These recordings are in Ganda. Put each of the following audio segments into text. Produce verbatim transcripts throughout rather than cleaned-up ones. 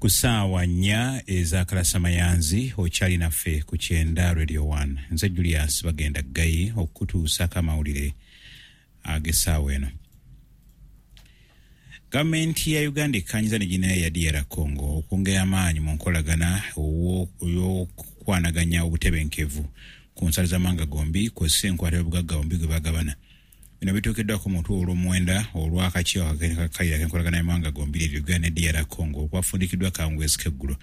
Ku ssaawa nnya ez'akalasamayanzi okyali naffe ku Kyenda Radio one. Nze Julius Bagenda Ggayi okukutuusaako amawulire ag'essaawa eno. Gavumenti ya Uganda ekkaanyiza ne ginayo ya D R Congo okwongera amaanyi mu nkolagana ey'okukwanaganya obutebenkevu ku nsalo z'amawanga gombi kw'ossa enkwata y'obugagga bombi gwe bagabana. Bino bituukiddwako mu lutuula olw'omuwenda olw'akakiiko akakkalira k'enkolagana y'amawanga gombi eryo Uganda ne D R Congo okwafundikiddwa akawungeezi k'eggulo.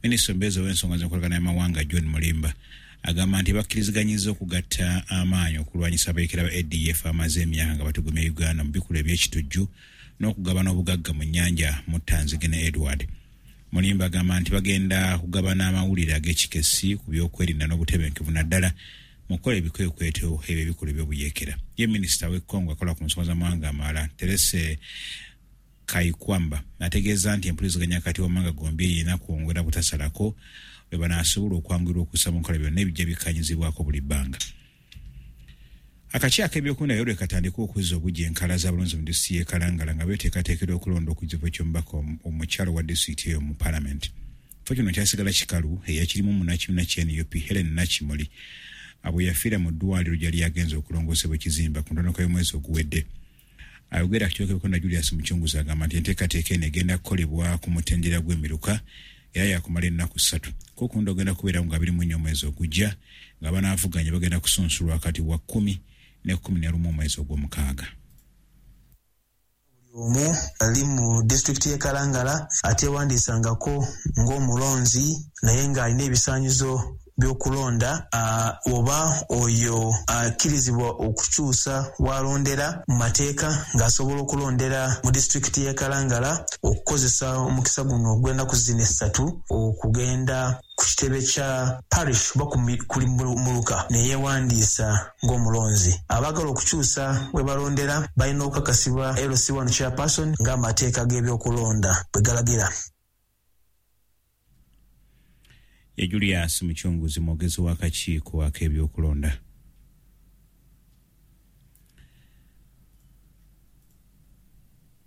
Minisita omubeezi ow'ensonga z'enkolagana y'amawanga John Mulimba agamba nti bakkiriziganyizza okugatta amaanyi okulwanyisa abayeekera ba A D F amaze emyaka nga batugumya Uganda mu bikolwa eby'ekitujju n'okugabana obugagga mu nnyanja Muttanzige ne Edward. Mulimba agamba nti bagenda kugabana amawulire ag'ekikessi ku by'okwerinda n'obutebenkevu naddala mu kukola ebikwekweto ebyo ebikolwa eby'obuyeekera. Ye minisita w'e Congo akola ku nsonga z'amawanga amalala Therese Kayikwamba ategeeza nti empuliziganya wakati w'amawanga gombi erina kwongera butasalako bwe banaasobola okwanguyirwa okussa mu nkola byonna ebijja bikkanyizibwako buli bbanga. Akakiiko ak'ebyokulonda leero lwe katandika okuzza obuggya enkala z'abalonzi mu disitulikiti y'e Kalangala nga beeteekateekera okulonda okujja ky'omubaka omukyala wa disitulikiti eyo mu paalamenti. Ekifo kino kyasigala kikalu eyakirimu munnakibiina kya N U P Helen Nakimuli abo yafiira mu ddwaliro gyali yagenze okulongoosebwa ekizimba ku ntandikwa y'omwezi oguwedde. Ayogera ku kiiko ky'ebyokulonda Julius Muchunguzi agamba nti enteekateeka eno egenda kukolebwa ku mutendera gw'emiruka era yakumala ennaku ssatu. Okulonda ogenda kubeerawo nga abiri mu nnya omwezi ogujja nga banaavuganya bagenda kusunsulwa wakati wa kkumi ne kkumi na lumu omwezi ogw'omukaaga. Omu ali mu disitulikiti y'e Kalangala ateewandiisangako ng'omulonzi naye ng'alina ebisaanyizo by'okulonda uh, oba oyo akkirizibwa uh, okukyusa w'alondera mu mateeka ng'asobola okulondera mu disitulikiti y'e Kalangala okukozesa omukisa guno ogw'ennaku zino essatu okugenda ku kitebe kya parish oba ku muluka ne yeewandiisa ng'omulonzi. Abaagala okukyusa we balondera balina okukakasibwa L C one chairperson ng'amateeka g'ebyokulonda bwe galagira. Ye Julius Muchunguzi mwogezi w'akakiiko ak'ebyokulonda.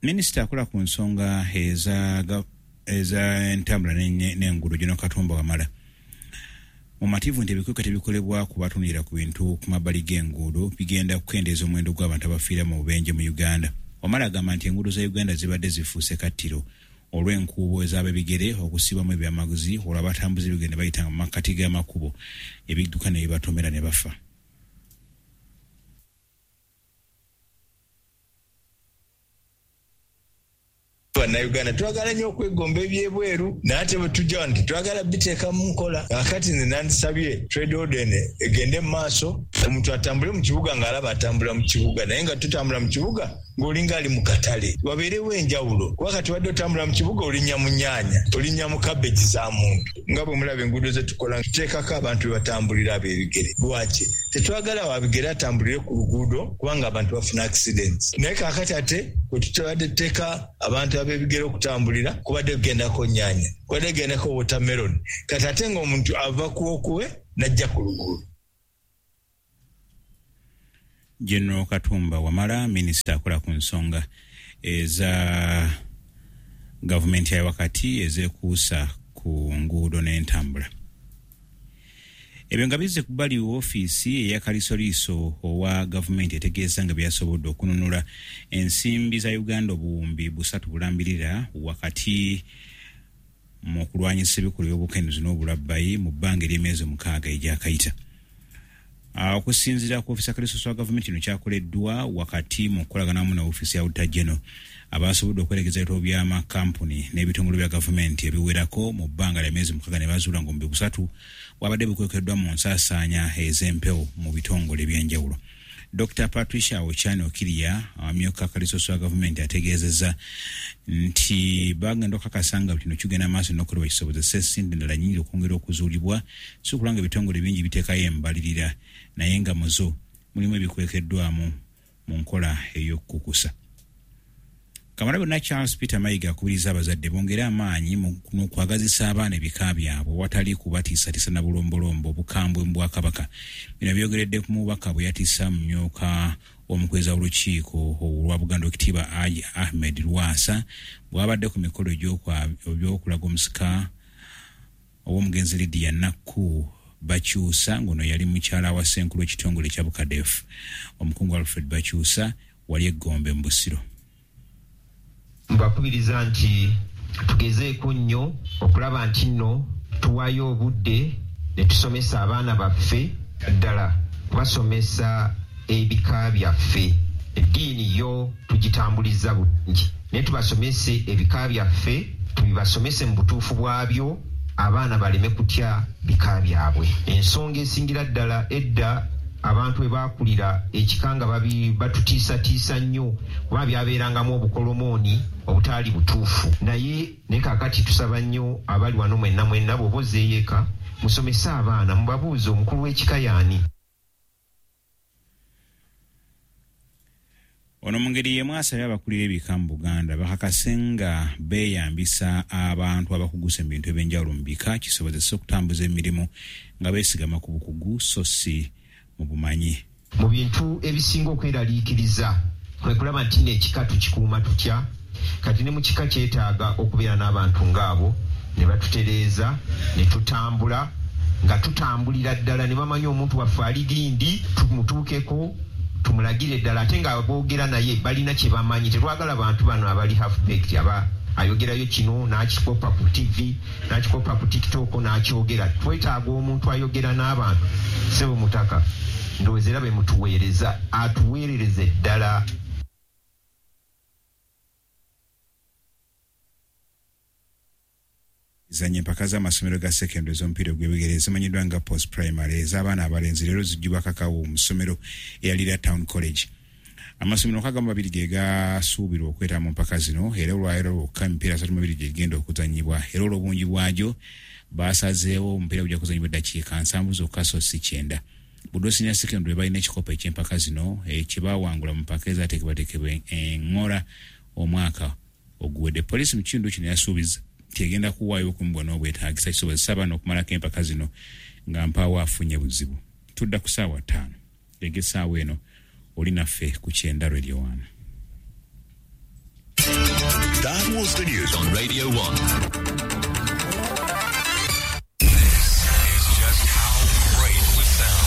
Minisita akola ku nsonga eza eza entambula n'enguudo General Katumba Wamala mumativu nti ebikwekweto ebikolebwa ku batunulira ku bintu ku mabbali g'enguudo bigenda kukendeeza omuwendo gw'abantu abafiira mu bubenje mu Uganda. Wamala agamba nti enguudo za Uganda zibadde zifuuse kattiro olw'enkuubo ez'ab'ebigere okusibamu ebyamaguzi olwo abatambuze ebigere ne bayitanga mu makkati g'amakubo ebidduka ne bibatomera ne bafa. Bannayuganda twagala nnyo okwegomba ebyebweru naye ate bwe tujja wano tetwagala biteeka mu nkola. Kaakati nze nandisabye trade order egende mu maaso, omuntu atambule mu kibuga ng'alaba atambula mu kibuga, naye nga tutambula mu kibuga ng'olinga ali mu katale, wabeerewo enjawulo. Kuba kati wadde otambula mu kibuga olinnya mu nnyaanya, olinnya mu kabegi za muntu. Nga bwe mulaba enguudo ze tukola tuteekako abantu be batambulira ab'ebigere. Lwaki tetwagala wabigere atambulire ku luguudo kubanga abantu bafuna accidents? Naye kaakati ate bwe tutubadde tuteeka abantu ab'ebigere okutambulira kubadde kugendako nnyaanya, kubadde kugendako watermelon, kati ate ng'omuntu ava ku okuwe n'ajja ku luguudo. General Katumba Wamala minisita akola ku nsonga eza gavumenti ya wakati ezeekuusa ku nguudo n'entambula. Ebyo nga bizze ku bbali woofiisi eya Kalisoliiso owa gavumenti etegeeza nga byasobodde okununula ensimbi za Uganda obuwumbi busatu bulambirira wakati mu kulwanyisa ebikolwa by'obukenuzi n'obulabbayi mu bbanga ery'emyezi mukaaga egyakayita. Okusinziira ku ofiisi ya Kalisoliiso wa gavumenti kino kyakoleddwa wakati mu kukolagana wamu ne ofiisi ya Auditor General abasobodde okweregeza ebitabo by'amakampuni n'ebitongole bya gavumenti ebiwerako mu bbanga lya myezi mukaaga ne bazuula ng'obuwumbi busatu bwabadde bukwekeddwa mu nsaasaanya ez'empewo mu bitongole eby'enjawulo. Dokita Patricia Ochani Okiria amyuka Kalisoliiso wa gavumenti ategeezezza nti bagenda okukakasa nga kino kigenda maaso n'okukolebwa kisobozese ensimbi endala nnyingi okwongera okuzuulibwa, si kulwa nga ebitongole bingi biteekayo embalirira naye nga muzo mulimu ebikwekeddwamu mu nkola ey'okukukusa. Kamalabyonna Charles Peter Mayiga akubiriza abazadde bongere amaanyi mu kwagazisa abaana ebika byabwe watali kubatiisatiisa na bulombolombo obukambwe mu Bwakabaka. Bino byogeredde ku mubaka bwe yatissa mumyuka omukweza w'olukiiko olwa Buganda Owekitiibwa Haji Ahmed Lwasa bw'abadde ku mikolo egy'okulaga omusika ow'omugenzi Lydia Nakku Bakyusa, ng'ono yali mukyala wa ssenkulu w'ekitongole ekya Bukadefu omukungu Alfred Bakyusa wali e Gombe mu Busiro. Mbakubiriza nti tugezeeko nnyo okulaba nti nno tuwaayo obudde ne tusomesa abaana baffe, ddala kubasomesa ebika byaffe. Eddiini yo tugitambuliza bulungi, naye tubasomese ebika byaffe, tubibasomese mu butuufu bwabyo, abaana baleme kutya bika byabwe. Ensonga esingira ddala, edda abantu bwe baakulira ekika nga batutiisatiisa nnyo kuba byabeerangamu obukolomooni obutaali butuufu. Naye ne kaakati tusaba nnyo abali wano mwenna mwenna, bw'oba ozzeeyo eka musomese abaana, mubabuuze omukulu w'ekika y'ani. Ono mu ngeri y'emu asabye abakulira ebika mu Buganda bakakase nga beeyambisa abantu abakuguse mu bintu ebyenjawulo mu bika kisobozese okutambuza emirimu nga beesigama ku bukugu so si mu bumanyi. Mu bintu ebisinga okweraliikiriza kwe kulaba nti nno ekika tukikuuma tutya. Kati ne mu kika kyetaaga okubeera n'abantu ng'abo ne batutereeza ne tutambula nga tutambulira ddala ne bamanya omuntu waffe ali gindi, tumutuukeko tumulagire ddala, ate nga boogera naye balina kye bamanyi. Tetwagala bantu bano abali half baked, aba ayogerayo kino n'akikopa ku T V n'akikopa ku TikTok n'akyogera. Twetaaga omuntu ayogera n'abantu. Ssebo Mutaka, ndowooza era be mutuweereza, atuweerereze ddala. Zanya empaka z'amasomero ga secondary ez'omupiira ogw'ebigere ezimanyiddwa nga post primary ez'abaana abalenzi leero zijjubwa kakawo mu ssomero eyalira Town College. Amasomero nkaaga mu babiri ge gasuubirwa okwetaba mu mpaka zino, era olwaleero lwokka emipiira asatu mu ebiri gye gigenda okuzannyibwa, era olw'obungi bwagyo baasazeewo omupiira gujja kuzannyibwa eddakiika nsanvu zokka so si kyenda. Buddo Senior Secondary balina ekikopo eky'empaka zino kye baawangula mu mpaka ezaateekebwateekebwa eŋŋola omwaka oguwedde. Poliisi mu kitundu kino yasuubiza nti egenda kuwaayo obukuumi n'obwetaagisa kisobozesa abaana okumalako empaka zino nga mpaawo afunye buzibu. Tudda ku ssaawa ttaano ega essaawa eno oli naffe ku Kyenda Radio One. That was the news on Radio one.